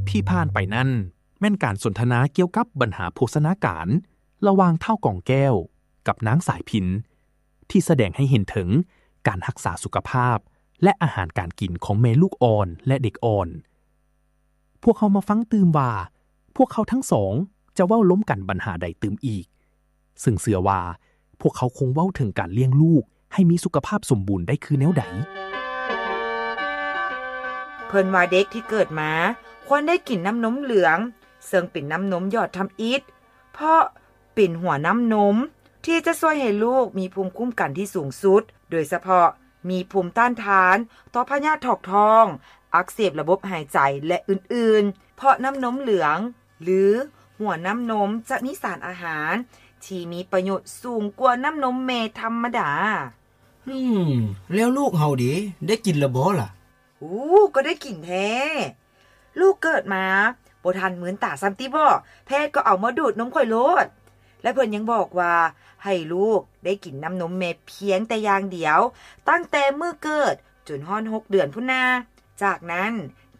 ທີ່ຜ່ານໄປນັ້ນ ແມ່ນການສົນທະນາກ່ຽວກັບບັນຫາໂພຊະນາການ ລະຫວ່າງທ້າວກອງແກ້ວກັບນາງສາຍພິນ ທີ່ສະແດງໃຫ້ເຫັນເຖິງການຮັກສາສຸຂະພາບ ແລະ ອາຫານການກິນຂອງແມ່ລູກອ່ອນ ແລະ ເດັກອ່ອນ. ພວກເຮົາມາຟັງຕື່ມວ່າ ພວກເຂົາທັງສອງຈະເວົ້າລົມກັນບັນຫາໃດຕື່ມອີກ, ເຊິ່ງເຊື່ອວ່າພວກເຂົາຄົງເວົ້າເຖິງການລ້ຽງລູກໃຫ້ມີສຸຂະພາບສົມບູນໄດ້ຄືແນວໃດ. ເພິ່ນວ່າເດັກທີ່ເກີດມາຄວນໄດ້ກິນນ້ຳນົມເຫຼືອງ, ເຊິ່ງເປັນນ້ຳນົມຢອດທຳອິດ, ເພາະເປັນຫົວນ້ຳນົມທີ່ຈະຊ່ວຍໃຫ້ລູກມີພູມຄຸ້ມກັນທີ່ສູງສຸດ, ໂດຍສະເພາະມີພູມຕ້ານທານຕໍ່ພະຍາດຖອກທ້ອງ, ອັກເສບລະບົບຫາຍໃຈ ແລະ ອື່ນໆ. ເພາະນ້ຳນົມເຫຼືອງ ຫຼື ຫົວນ້ຳນົມຈະມີສານອາຫານທີ່ມີປະໂຫຍດສູງກວ່ານ້ຳນົມແມ່ທຳມະດາ. ອືມ ແລ້ວລູກເຮົາເດ ໄດ້ກິນລະບໍ່ລະ? ໂອ້ ກໍໄດ້ກິນແທ້. ລູກເກີດມາບໍ່ທັນມືນຕາຊ້ຳຕິບໍ, ແພດກໍເອົາມາດູດນົມຂ້ອຍໂລດ. ແລະ ເພິ່ນຍັງບອກວ່າໃຫ້ລູກໄດ້ກິນນ້ຳນົມແມ່ພຽງແຕ່ຢ່າງດຽວ, ຕັ້ງແຕ່ມື້ເກີດຈົນຮອດຫົກເດືອນພຸ້ນນາ. ຈາກນັ້ນ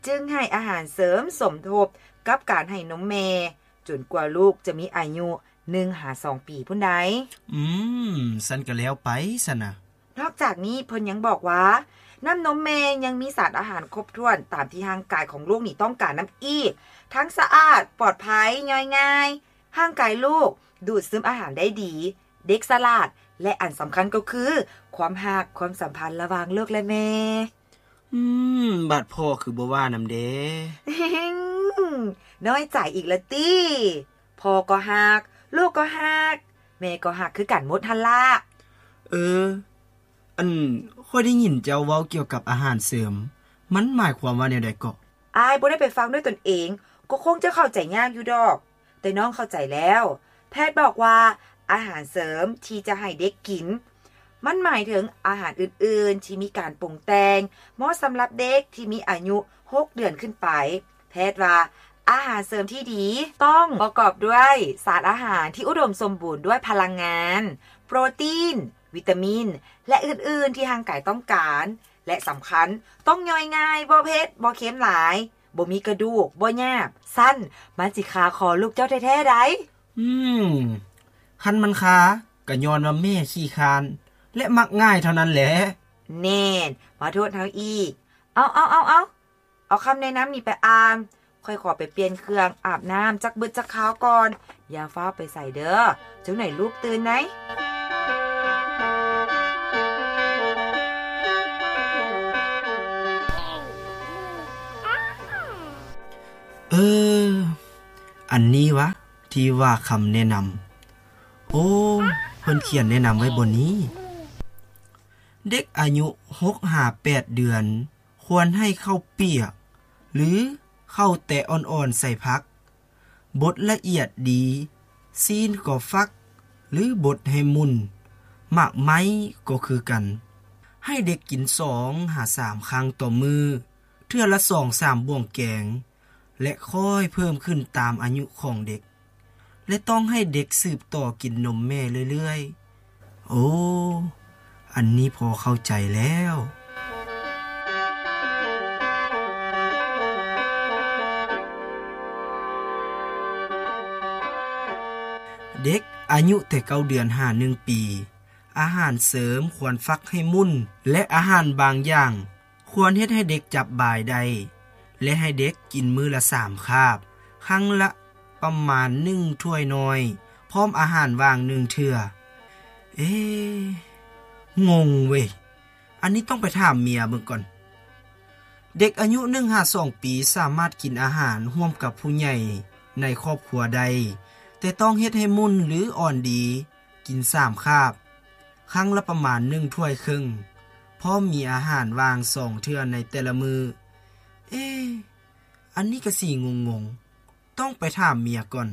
ຈຶ່ງໃຫ້ອາຫານເສີມສົມທົບກັບການໃຫ້ນົມແມ່ ຈົນກວ່າລູກຈະມີອາຍຸໜຶ່ງຫາສອງປີພຸ້ນໃດ. ອືມ ຊັ້ນກໍແລ້ວໄປຊັ້ນນະ. ນອກຈາກນີ້ເພິ່ນຍັງບອກວ່າ ນ້ຳນົມແມ່ຍັງມີສານອາຫານຄົບຖ້ວນຕາມທີ່ຮ່າງກາຍຂອງລູກນີ້ຕ້ອງການນຳອີກ, ທັງສະອາດ, ປອດໄພ, ຍ່ອຍງ່າຍ, ຮ່າງກາຍລູກດູດຊຶມອາຫານໄດ້ດີ, ເດັກສະຫຼາດ ແລະ ອັນສຳຄັນກໍຄື ຄວາມຮັກ, ຄວາມສຳພັນລະຫວ່າງລູກ ແລະ ແມ່. ອືມ ບາດພໍ່ຄືບໍ່ວ່ານຳແດ່? ນ້ອຍໃຈອີກລະຕິ. ພໍ່ກໍຮັກ, ລູກກໍຮັກ, ແມ່ກໍຮັກຄືກັນໝົດຫັ້ນລະ. ເອີ ອັນ ຂ້ອຍໄດ້ຍິນເຈົ້າເວົ້າກ່ຽວກັບອາຫານເສີມ, ມັນໝາຍຄວາມວ່າແນວໃດເກາະ? ອ້າຍບໍ່ໄດ້ໄປຟັງດ້ວຍຕົນເອງ, ກໍຄົງຈະເຂົ້າໃຈຍາກຢູ່ດອກ. ແຕ່ນ້ອງເຂົ້າໃຈແລ້ວ. ແພດບອກວ່າອາຫານເສີມທີ່ຈະໃຫ້ເດັກກິນ ມັນໝາຍເຖິງອາຫານອື່ນໆທີ່ມີການປຸງແຕ່ງ ເໝາະສຳລັບເດັກທີ່ມີອາຍຸຫົກເດືອນຂຶ້ນໄປ. ແພດວ່າອາຫານເສີມທີ່ດີຕ້ອງປະກອບດ້ວຍສານອາຫານທີ່ອຸດົມສົມບູນດ້ວຍພະລັງງານ, ໂປຣຕີນ, ວິຕາມິນ ແລະ ອື່ນໆທີ່ຮ່າງກາຍຕ້ອງການ. ແລະ ສຳຄັນ, ຕ້ອງຍ່ອຍງ່າຍ, ບໍ່ເຜັດ, ບໍ່ເຄັມຫຼາຍ, ບໍ່ມີກະດູກ, ບໍ່ຫຍາບ, ຊັ້ນມັນຊິຄາຄໍລູກເຈົ້າແທ້ໆໃດ໋. ອືມ ຄັນມັນຄາ ກະຍ້ອນວ່າແມ່ຂີ້ຄ້ານ ແລະ ມັກງ່າຍເທົ່ານັ້ນແຫຼະ. ແນ່ນ ມາໂທດເຮົາອີກ. ເອົາ ເອົາ ເອົາ ເອົາ ເອົາຄຳແນະນຳນີ້ໄປອ່ານ. ຂ້ອຍຂໍໄປປ່ຽນເຄື່ອງອາບນ້ຳຈັກບຶດຈັກຄາວກ່ອນ. ຢ່າຟ້າວໄປໃສເດີ້, ຈັ່ງໃດລູກຕື່ນໃດ໋. ເອີ ອັນນີ້ວະ ທີ່ວ່າຄຳແນະນຳ. ໂອ້ ເພິ່ນຂຽນແນະນຳໄວ້ບ່ອນນີ້. ເດັກອາຍຸຫົກຫາແປດເດືອນ ຄວນໃຫ້ເຂົ້າປຽກ ຫຼື ເຂົ້າແຕະອ່ອນໆໃສ່ຜັກ, ບົດລະອຽດດີ, ຊີ້ນກໍຟັກ ຫຼື ບົດໃຫ້ມຸ່ນ, ໝາກໄມ້ກໍຄືກັນ. ໃຫ້ເດັກກິນສອງຫາສາມຄັ້ງຕໍ່ມື້, ເທື່ອລະສອງສາມບ່ວງແກງ ແລະ ຄ່ອຍເພີ່ມຂຶ້ນຕາມອາຍຸຂອງເດັກ. ແລະ ຕ້ອງໃຫ້ເດັກສືບຕໍ່ກິນນົມແມ່ເລື້ອຍໆ. ໂອ້ ອັນນີ້ພໍເຂົ້າໃຈແລ້ວ. ເດັກອາຍຸແຕ່ເກົ້າເດືອນຫາໜຶ່ງປີ, ອາຫານເສີມຄວນຟັກໃຫ້ມຸ່ນ ແລະ ອາຫານບາງຢ່າງ ຄວນເຮັດໃຫ້ເດັກຈັບບາຍໄດ້ ແລະ ໃຫ້ເດັກກິນມື້ລະສາມຄາບ, ຄັ້ງລະປະມານໜຶ່ງຖ້ວຍນ້ອຍ, ພ້ອມອາຫານຫວ່າງໜຶ່ງເທື່ອ. ເອ ງົງເວີຍ, ອັນນີ້ຕ້ອງໄປຖາມເມຍເບິ່ງກ່ອນ. ເດັກອາຍຸໜຶ່ງຫາສອງປີສາມາດກິນອາຫານຮ່ວມກັບຜູ້ໃຫຍ່ໃນຄອບຄົວໄດ້, ແຕ່ຕ້ອງເຮັດໃຫ້ມຸ່ນ ຫຼື ອ່ອນດີ. ກິນສາມຄາບ, ຄັ້ງລະປະມານໜຶ່ງຖ້ວຍເຄິ່ງ, ພ້ອມມີອາຫານຫວ່າງສອງເທື່ອໃນແຕ່ລະມື້. ເອ ອັນນີ້ກະຊິງົງໆ, ຕ້ອງໄປຖາມເມຍກ່ອນ.